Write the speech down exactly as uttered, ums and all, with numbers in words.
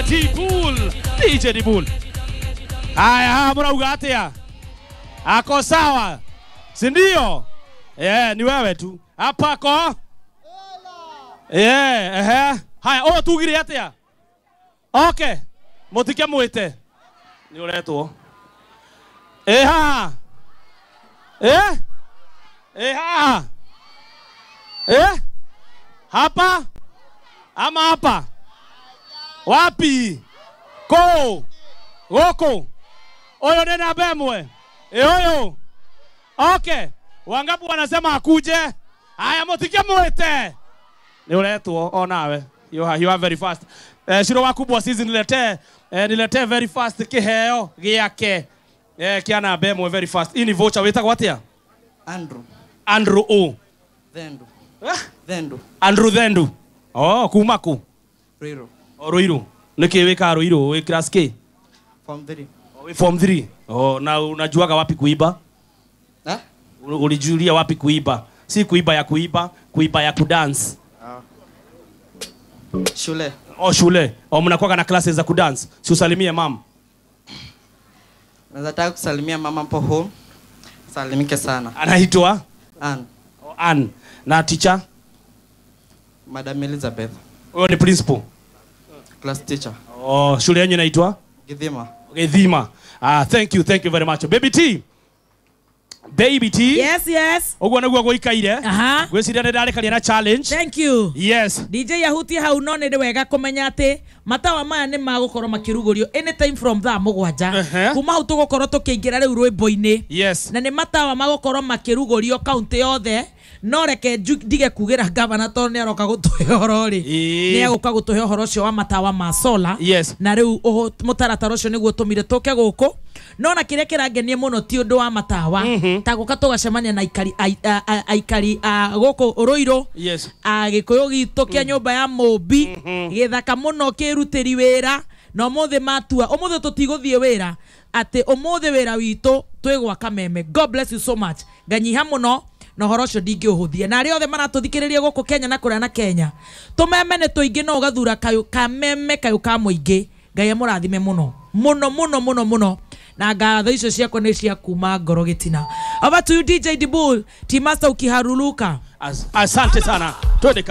Dibul, D J Dibul. Haya, haya mrauga atia? Ako sawa, si ndio? Eh, ni wewe tu. Hapa ko? Eh, ehe. Haya, o tugire atia? Okay. Mutike mwite. Ni uretwo. Eh ha. Eh? Eh ha. Eh? Hapa? Ama hapa? Wapi? Ko. Goko. Oyo nena bemwe. Eh oyo. Okay. Wangapi wanasema akuje? Haya mutike mwite. Ni uretwo onawe. You are, you are very fast. Eh, shiro wakubwa sisi niletee eh, niletee very fast kiheo giake. Eh, kiana bemwe very fast. Hii ni voucher wetagwo atia? Andrew. Andrew O. Thendu. Eh? Thendu. Andrew Thendu. Oh, kuma ku? Ruiru. Oh, Ruiru. Niki weka Ruiru, we class K? Form three. Oh, we form three. Oh, na unajuaga wapi kuiba? Eh? Ulijulia wapi kuiba? Si kuiba ya kuiba, kuiba ya kudance. Ah. Shule. Oh, shule. Oh, mnakuwa na classes za kudance. Si usalimie mama. Nataka kusalimia mama mpo home. Salimike sana. Anaitwa? Ann. Oh, Ann. Na teacher? Madam Elizabeth. Huyo ni principal? Class teacher. Oh, shule yenu inaitwa? Githima. Githima. Ah, thank you, thank you very much. Baby T. Baby T. Yes, yes. Uguo niguo guikaire. Aha. Gwiciria ni ndarikaria na challenge. Thank you. Yes. D J Yahuti hau no ni wega kumenya ati matawa maya ni magukorwo makirugurio anytime from thaa mugwanja. Uh-huh. Kuma hau tugukorwo tukiingira riu rwimbo-ini. Yes. Na ni matawa magukorwo makirugurio county yothe. No reke ndige kugira gavana to ni aroka gutuhe horo ri. Ni aguka gutuhe horo ucio wa matawa ma solar. Yes. Na riu mutaratara ucio niguo tumire tuke guku. No na kiria kirangenie muno ti undu wa matawa. Mm -hmm. Ta guka tugacemania na aikari aikari a guku Ruiru. Yes. A Gikuyu gitu kia nyumba ya Mumbi. Mm -hmm. Githaka muno kirutiri wira. Na umuthi matua umuthi tutiguthie wira ati umuthi wira witu twigwaka meme. God bless you so much. Nganyiha muno na horo ucio ndingĩũhũthia na arĩa othe maratũthikĩrĩria gũkũ Kenya na kũrĩa na Kenya tũmeme nĩ tũingĩ no ũgathura kayũ kameme kayũ ka mũingĩ. Ngai amũrathime mũno mũno mũno mũno mũno na ngatho icio ciakwa nĩ cia kuma ngoro gĩtina. Over to you D J Dibul, Team Master ukiharuluka. As, asante sana. Twende kazi.